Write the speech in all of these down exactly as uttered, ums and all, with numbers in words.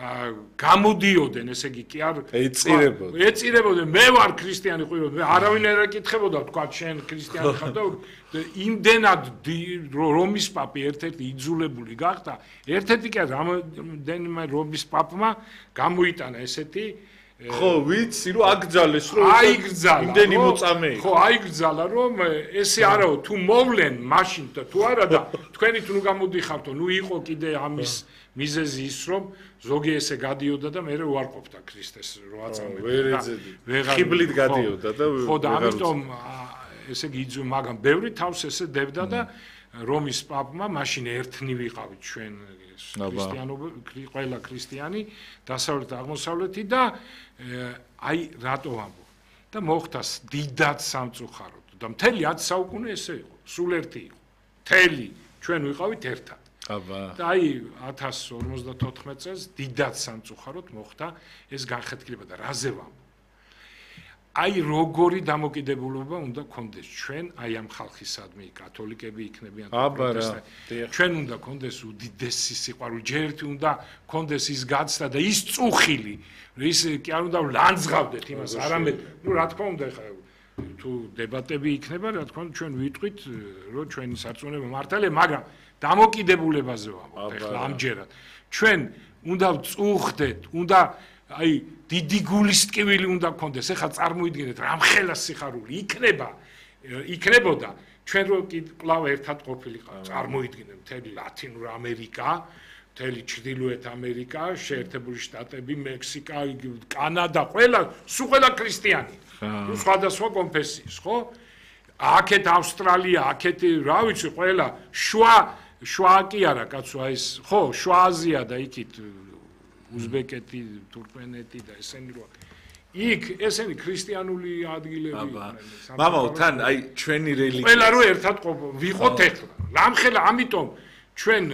გამოდიოდნენ, ესე იგი კი არ ეწირებოდნენ. ეწირებოდნენ, მე ვარ ქრისტიანი ყვირო, მე არავინ არ ეკითხებოდა, თქვა შენ ქრისტიანი ხარ და იმდენად რომის პაპი ერთ-ერთი იძულებული გახდა, ერთ-ერთი კი რამდენიმე რომის პაპმა გამოიტანა ესეთი ხო, ვიცი, რომ აკრძალეს, რომ აიგრძალა. იმდენი მოწამე იყო. ხო, აიგრძალა, რომ ესე არაო, თუ მოვლენ მაშინ და თუ არა და თქვენი თუ გამოდიხართო, ნუ იყო კიდე ამის მიზეზი ის, რომ ზოგი ესე გადიოდა და მე უარყოფდა ქრისტეს რო აწამებდა. ვერ ეძედი. ხიბლით გადიოდა და ხო, და ამიტომ ესე იგი იძულ, მაგრამ ბევრი თავს ესე დებდა და რომის პაპმა მაშინ ერთნი ვიყავით ჩვენ ქრისტიანობა, ყველა ქრისტიანი დასავლეთ აღმოსავლეთი და აი რატო ვამბობ და მოხდა დიდად სამწუხაროდ და მთელი ათი საუკუნე ესე იყო, სულ ერთი იყო. მთელი ჩვენ ვიყავით ერთად. აბა. და აი ათას ორმოცდათოთხმეტ წელს დიდად სამწუხაროდ მოხდა ეს განხეთქილება და რაზე ვამბობ. აი როგორი დამოკიდებულება უნდა გქონდეს ჩვენ აი ამ ხალხისადმი კათოლიკები იქნებიან პროტესტანტები ჩვენ უნდა გქონდეს უდიდესი სიყვარული ჯერ ერთი უნდა გქონდეს ის გაცდა და ის წუხილი ის კი არ უნდა ლანძღავდეთ იმას არამედ ნუ რა თქმა უნდა ხა თუ დებატები იქნება რა თქმა უნდა ჩვენ ვიტყვით რომ ჩვენი სარწმუნოება მართალია მაგრამ დამოკიდებულებაზე ვამბობ ახლა ამჯერად ჩვენ უნდა წუხდეთ უნდა აი დიდი გულის ტკივილი უნდა გქონდეს. ეხლა წარმოიდგინეთ, რამხელა სიხარული იქნება, იქნებოდა ჩვენ რო კვლავ ერთად ყოფილიყავ. წარმოიდგინეთ, მთელი ლათინური ამერიკა, მთელი ჩრდილოეთ ამერიკა, შეერთებული შტატები, მექსიკა, კანადა, ყველა, სულ ყველა ქრისტიანი. სხვადასხვა კონფესიის, ხო? აქეთ ავსტრალია, აქეთ რა ვიცი, ყველა შუა შუა კი არა, კაცო, აი ეს, ხო, შუა აზია და იქით უზბეკეთი, თურქმენეთი და ესენი რო იქ ესენი ქრისტიანული ადგილები იყვნენ. მამაო, თან აი ჩვენი რელიგია. ყველა რო ერთად ვიყოთ ეხლა. რამხელა, ამიტომ ჩვენ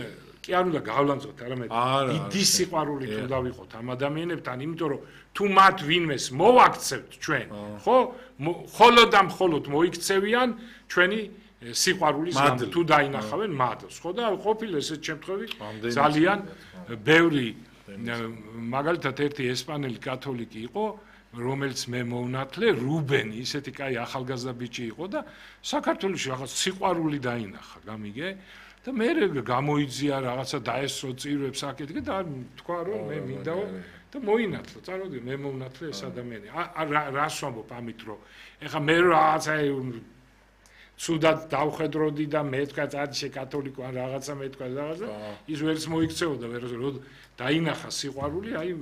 კი არ უნდა გავლანძოთ, არამედ დიდი სიყვარულით უნდა ვიყოთ ამ ადამიანებთან, იმიტომ რომ თუ მათ ვინმეს მოვაქცევთ ჩვენ, ხო? მხოლოდ და მხოლოდ მოიქცევიან ჩვენი სიყვარულის გამო თუ დაინახავენ მადლს, ხო და ყოფილა ესეთ შემთხვევით ძალიან ბევრი მაგალითად ერთი ესპანელი კათოლიკი იყო, რომელიც მე მოვნათლე, რუბენი, ისეთი კაი ახალგაზრდა ბიჭი იყო და საქართველოში რაღაც სიყვარული დაინახა, გამიგე? და მე გამოიძია რაღაცა დაესწრო წირვებს აკეთე და თქვა რომ მე მინდაო და მოინათლა, წარმოიდგინე, მე მოვნათლე ეს ადამიანი. რას ვამბობ ამით რომ ეხლა მე რაღაცა ცუდად დავხედროდი და მე თქვა წარჩე კათოლიკო ან რაღაცა მე თქვა რაღაცა ის ვერც მოიქცეოდა ვერ დაინახა სიყვარული აი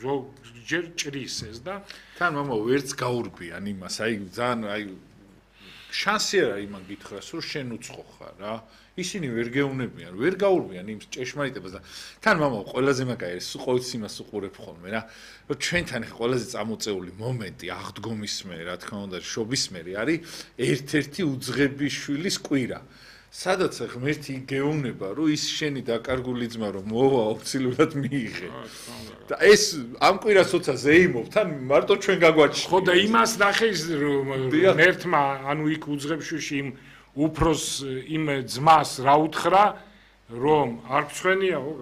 ზოგჯერ ჭრის ეს და თან მამა ვერც გაურბიან იმას აი ძალიან აი შანსი არა იმან გითხრას რომ შენ უცხო ხარ რა ისინი ვერ გეუნებიან ვერ გაურბიან იმ ჭეშმარიტებას და თან მამა ყველაზე მაგარი ყოველთვის იმას უყურებ ხოლმე რა რომ ჩვენთან ხა ყველაზე წამოწეული მომენტი აღდგომის მე რა თქმა უნდა შობის მე არის ერთ-ერთი უძღების შვილის კვირა სადაც ღმერთი გეუბნება რომ ის შენი დაკარგული ძმა რომ მოვა აუცილებლად მიიღე და ეს ამ კვირას როცა ზეიმობ თან მარტო ჩვენ გაგვაჩნია ხო და იმას ნახე რომ ღმერთმა ანუ იქ უძღებშუში იმ უფროს იმ ძმას რა უთხრა რომ არ გწვენია ხო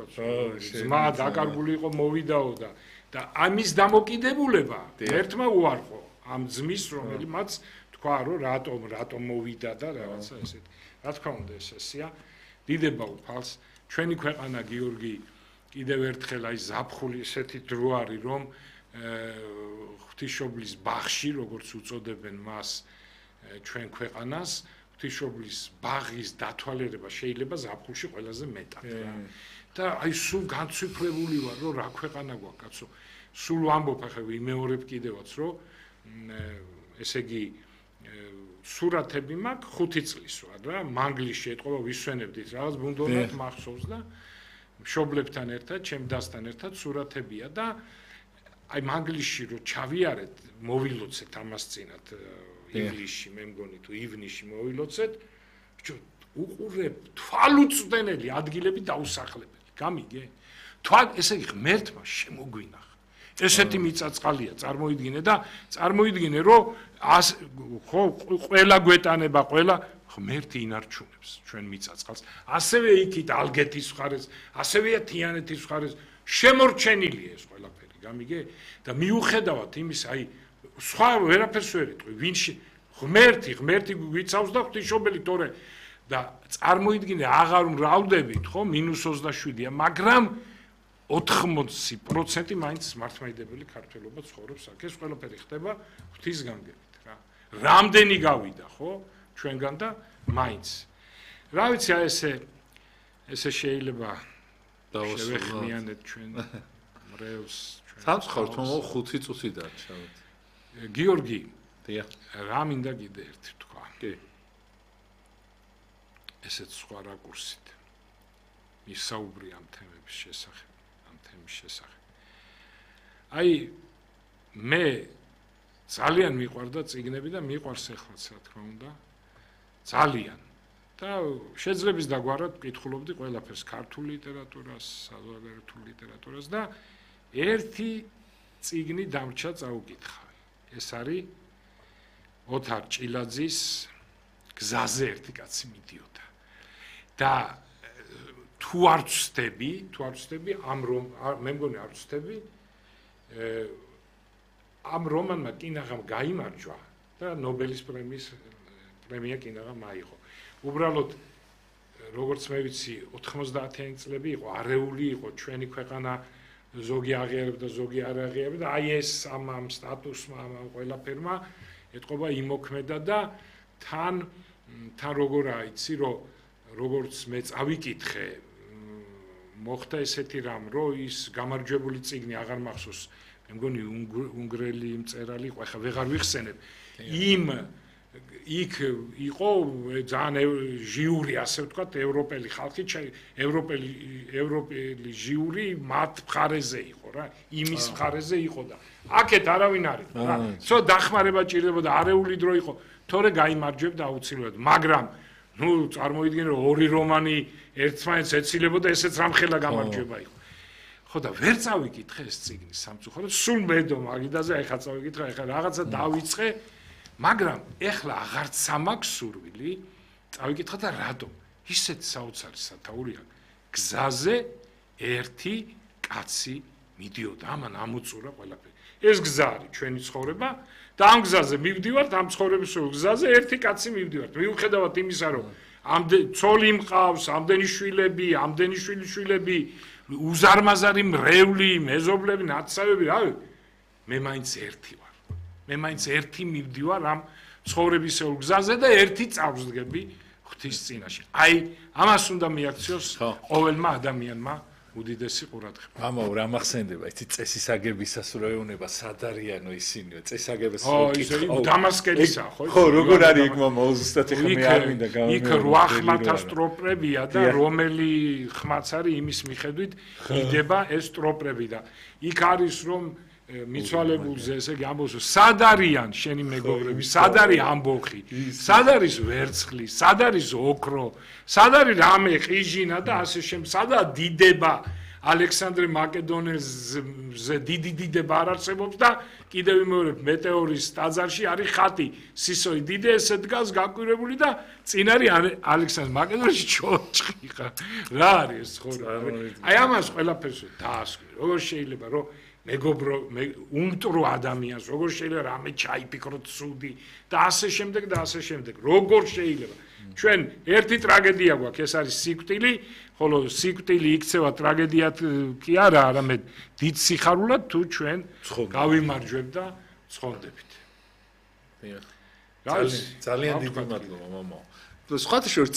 ძმა დაკარგული იყო მოვიდაო და და ამის დამოკიდებულება ერთმა უარყო ამ ძმის რომელმაც თქვა რომ რატომ რატომ მოვიდა და რაღაცა ესეთ რა თქმა უნდა ეს ესია დიდება უფალს ჩვენი ქვეყანა გიორგი კიდევ ერთხელ აი ზაფხული ესეთი დრო არის რომ ღვთისმშობლის ბაღში როგორც უწოდებენ მას ჩვენ ქვეყანას ღვთისმშობლის ბაღის დათვალიერება შეიძლება ზაფხულში ყველაზე მეტად რა და აი სულ განცვიფრებული ვარ რომ რა ქვეყანა გვაქვს კაცო სულ ვამბობ ახლა ვიმეორებ კიდევაც რომ ესე იგი სურათები მაქვს ხუთი წლის ვარ რა მანგლისში ეთყობა ვისვენებდით რაღაც ბუნდოვნად მახსოვს და მშობლებთან ერთად ჩემ დასთან ერთად სურათებია და აი მანგლისში რო ჩავიარეთ მოვილოცეთ ამას წინათ ინგლისში მე მგონი თუ ივნისში მოვილოცეთ ბიჭო უყურებ თვალუწვდენელი ადგილები დაუსახლებელი გამიგე თვალ ესე იგი ღმერთმა შემოგვინახა ესეთი მიწაწყალია წარმოიდგინე და წარმოიდგინე რომ ხო ყველა გვეტანება ყველა ღმერთი ინარჩუნებს ჩვენ მიწაწყალს ასევე იქით ალგეთის მხარეს ასევეა თიანეთის მხარეს შემორჩენილია ეს ყველაფერი, გამიგე? და მიუხედავად იმის, აი სხვა ვერაფერს ვერ იტყვი, ვინ ღმერთი, ღმერთი გვიცავს და ღვთისმშობელი თორე და წარმოიდგინე აღარ მრავლდებით, ხო, მინუს ოცდაშვიდია, მაგრამ ოთხმოცი პროცენტი მაინც მართლმადიდებელი ქართველობა ცხოვრობს აქ. ეს ყველაფერი ხდება ღვთის განგებით რა. რამდენი გავიდა, ხო, ჩვენგან და მაინც. რა ვიცი, აი ესე ესე შეიძლება დავასრულოთ ჩვენ მრევლს ჩვენ. სამწუხაროდ თუმცა ხუთი წუთი დარჩა. გიორგი, დიახ. რა მინდა კიდე ერთი თქვა. კი. ესეც სხვა რაკურსით. ისაუბრი ამ თემების შესახებ. შესახებ. აი მე ძალიან მიყვარდა წიგნები და მიყვარს ეხლაც რა თქმა უნდა. ძალიან. და შეძლებს დაგვარად ვკითხულობდი ყველაფერს, ქართულ ლიტერატურას, საზოგადოებრივ ლიტერატურას და ერთი წიგნი დამრჩა წაუკითხავი. ეს არის ოთარ ჭილაძის გზაზე ერთი კაცი მიდიოდა. და თუ არ ვწდები, თუ არ ვწდები, ამ რომ მე მგონი არ ვწდები, ამ რომანმა კინაღამ გაიმარჯვა და ნობელის პრემიის პრემია კინაღამ აიღო. უბრალოდ როგორც მე ვიცი, ოთხმოცდაათიანი წლები იყო, არეული იყო ჩვენი ქვეყანა, ზოგი აღიარებდა, ზოგი არ აღიარებდა, აი ეს ამ ამ სტატუსმა, ამ ყველაფერმა ეთყობა იმოქმედა და თან თან როგორ აიცი, რომ როგორც მე წავიკითხე მოხდა ესეთი რამ, რომ ის გამარჯვებული წიგნი აღარ მახსოვს, მე მგონი უნგრელი მწერალი იყო, ახლა ვეღარ ვიხსენებ. იმ იქ იყო ძალიან ჟიური, ასე ვთქვათ, ევროპელი ხალხი, ევროპელი ევროპელი ჟიური მათ მხარეზე იყო რა, იმის მხარეზე იყო და აქეთ არავინ არ იყო რა. ცოტა დახმარება ჭირდებოდა, არეული დრო იყო, თორე გაიმარჯვებდა აუცილებლად, მაგრამ ნუ წარმოიდგინე რომ ორი რომანი ერთმანეთს ეცილებოდა, ესეც რამხელა გამარჯვება იყო. ხო და ვერ წავიკითხე ეს წიგნი სამწუხაროდ, სულ მედო მაგიდაზე, ეხლა წავიკითხე, ეხლა რაღაცა დავიწყე, მაგრამ ეხლა აღარც სამაქვს სურვილი, წავიკითხე და რატომ? ისეთ საოცარი სათაურია. გზაზე ერთი კაცი მიდიოდა, ამან ამოწურა ყველაფერი. ეს გზა არის ჩვენი ცხოვრება და ამ გზაზე მივდივართ, ამ ცხოვრების გზაზე ერთი კაცი მივდივართ. მიუხედავად იმისა, რომ ამდენი ცოლი მყავს, ამდენი შვილები, ამდენი შვილიშვილები, უზარმაზარი მრევლი, მეზობლები, ნაცავები, რავი, მე მაინც ერთი ვარ. მე მაინც ერთი მივდივარ ამ ცხოვრებისეულ გზაზე და ერთი წავსდგები ღვთის წინაშე. აი, ამას უნდა მიაქციოს ყოველმა ადამიანმა უდიდესი ყურადღება. ამაო რა მახსენდება, იცი წესისაგებისას რო ეუნება სად არიანო ისინიო, წესაგებას რო კითხავ. დამასკელისა, ხო? ხო, როგორ არის იქ მამა ოცდაათი ხმე არ მინდა გამომიყვანო. იქ რვა ხმათა სტროპრებია და რომელი ხმაც არის იმის მიხედვით იდება ეს სტროპრები და იქ არის რომ მიცვალებულზე, ესე იგი ამბობს, სად არიან შენი მეგობრები, სად არის ამბოხი, სად არის ვერცხლი, სად არის ოქრო, სად არის რამე ყიჟინა და ასე შემდეგ, სადაა დიდება, ალექსანდრე მაკედონელზე დიდი დიდება არ არსებობს და კიდევ ვიმეორებ, მეტეორის ტაძარში არის ხატი, სისოი დიდე ესე დგას გაკვირვებული და წინ არის ალექსანდრე მაკედონელში ჩოჩხი ხა. რა არის ეს ცხოვრება? აი ამას ყველაფერს დაასკვი. როგორ შეიძლება რომ მეგობრო უმტრო ადამიანს როგორ შეიძლება რამე ჩაიფიქროთ სუდი და ასე შემდეგ და ასე შემდეგ როგორ შეიძლება ჩვენ ერთი ტრაგედია გვაქვს ეს არის სიკვდილი ხოლო სიკვდილი იქცევა ტრაგედიად კი არა არამედ დიდ სიხარულად თუ ჩვენ გავიმარჯვებთ და ცხონდებით ძალიან დიდი მადლობა მამა სხვათა შორის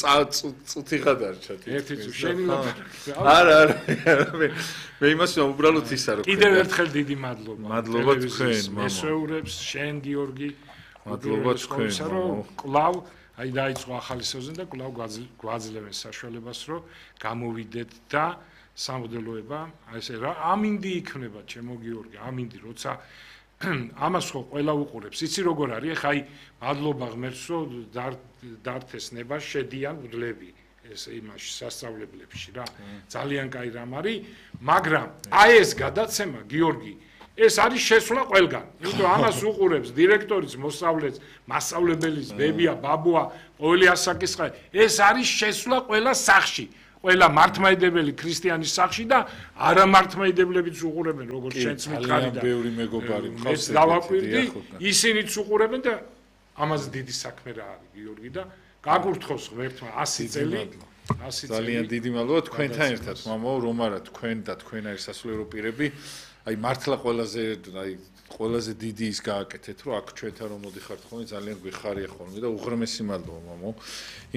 წუთი გადარჩა ერთი წუთი შენი ლაპარაკი არა არა მე მე იმას უბრალოდ ისა რომ კიდევ ერთხელ დიდი მადლობა მადლობა თქვენ მამა მესვეურებს შენ გიორგი მადლობა თქვენ რომ კლავ აი დაიწყო ახალი სეზონი და კლავ გვაძლევენ საშუალებას რომ გამოვიდეთ და სამოდელოება აი ესე რა ამინდი იქნება ჩემო გიორგი ამინდი როცა ამას ხო ყველა უყურებს იცი როგორ არის ხა აი მადლობა ღმერთს რომ დართეს ნება შედიან ვლები ეს იმაში სასწავლებლებში რა ძალიან კაი რამ არის მაგრამ აი ეს გადაცემა გიორგი ეს არის შესვლა ყველგან იმიტომ ამას უყურებს დირექტორიც მოსწავლეც მასწავლებლის ბებია ბაბუა ყოველი ასაკის ხა ეს არის შესვლა ყველა სახში ყველა მართლმადიდებელი ქრისტიანის სახში და არა მართლმადიდებლებიც უყურებენ როგორც შენც მითხარი და ბევრი მეგობარი მყავს დავაკვირდი ისინიც უყურებენ და ამაზე დიდი საქმე რა არის გიორგი და გაკურთხოს ღმერთმა ასი წელი ასი წელი ძალიან დიდი მადლობა თქვენთან ერთად მამაო რომ არა თქვენ და თქვენ არის სასულიერო პირები აი მართლა ყველაზე აი ყველაზე დიდი ის გააკეთეთ რომ აქ ჩვენთან რომ მოდიხართ ხოლმე ძალიან გვიხარია ხოლმე და უღრმესი მადლობა მამაო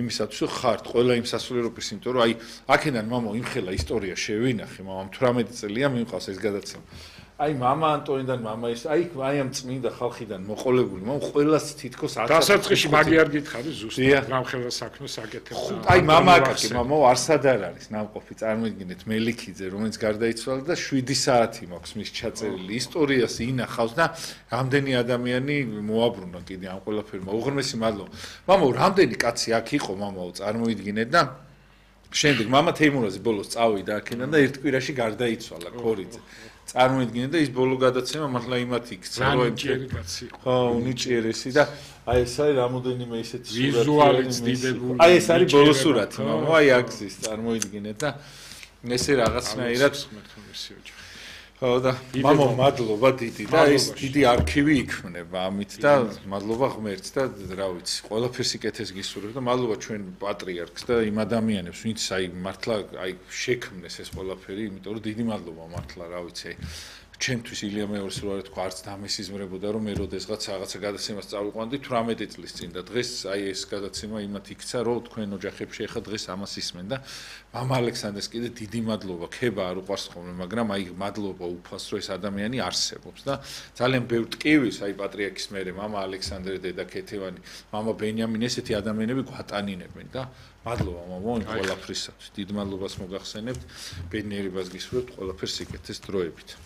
იმისათვის რომ ხართ ყველა იმ სასულიერო პირს იმიტომ რომ აი აქედან მამაო იმხელა ისტორია შევინახე მამამ თვრამეტი წელია მიმყავს ეს გადაცემა აი მამა ანტონიდან მამა ის აი აი ამ წმინდა ხალხიდან მოყოლებული მამ ყველას თითქოს დასაწყისში მაგი არ გითხარი ზუსტად გამხელა საქმეს აკეთებ აი მამა აკაკი მამაო არსად არ არის ნამყოფი წარმოიდგინეთ მელიქიძე რომელიც გარდაიცვალა და შვიდი საათი მაქვს მის ჩაწერილი ისტორიას ინახავს და რამდენი ადამიანი მოაბრუნა კიდე ამ ყველაფერმა უღრმესი მადლობა მამაო რამდენი კაცი აქ იყო მამაო წარმოიდგინეთ და შემდეგ მამა თეიმურაზი ბოლოს წავიდა აქედან და ერთ კვირაში გარდაიცვალა ქორიძე წარმოიდგინე და ის ბოლო გადაცემა მართლა იმათ იქცა რომ ჭიერი კაცი იყო ხო უნიჭიერესი და აი ეს არის რამოდენიმე ისეთი სურათი ვიზუალიც დიდებული აი ეს არის ბოლო სურათი მამა აი აგზის წარმოიდგინეთ და ესე რაღაცნაირად ხო და მამა მადლობა დიდი და ეს დიდი არქივი იქმნება ამით და მადლობა ღმერთს და რა ვიცი ყველაფერს იკეთეს გისურვებ და მადლობა ჩვენ პატრიარქს და იმ ადამიანებს ვინც აი მართლა აი შექმნეს ეს ყველაფერი იმიტომ რომ დიდი მადლობა მართლა რა ვიცი აი ჩემთვის ილია მეორის რო არ თქვა არც დამესიზმრებოდა რომ მე როდესღაც რაღაცა გადაცემას წავიყვანდი თვრამეტი წლის წინ და დღეს აი ეს გადაცემა იმათ იქცა რომ თქვენ ოჯახებში ახლა დღეს ამას ისმენ და მამა ალექსანდრეს კიდე დიდი მადლობა ქება არ უყვარს ხოლმე მაგრამ აი მადლობა უფალს რომ ეს ადამიანი არსებობს და ძალიან ბევრ ტკივილს აი პატრიარქის მერე მამა ალექსანდრე დედა ქეთევანი მამა ბენიამინი ესეთი ადამიანები გვატანინებენ და მადლობა მამა იმ ყველაფრისათვის დიდ მადლობას მოგახსენებთ ბედნიერებას გისურვებთ ყველაფერს იკეთეს დროებით